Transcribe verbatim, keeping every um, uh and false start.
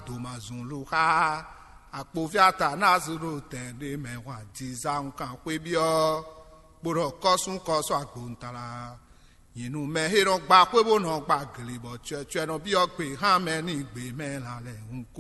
Domazunlu xá akpoví Atanazulu tɛn ɖé mɛ hwan dizan kan xwé byɔ́, bó ɖɔ kɔ́sún kɔ́sɔ́ agbontalá. Nyinú mɛ he nɔ gba xwé bó nɔ gba gle bɔ cyɔcyɔ nɔ byɔ́ gbe hán mɛ ní gbe mɛ lan lɛ́ɛ hun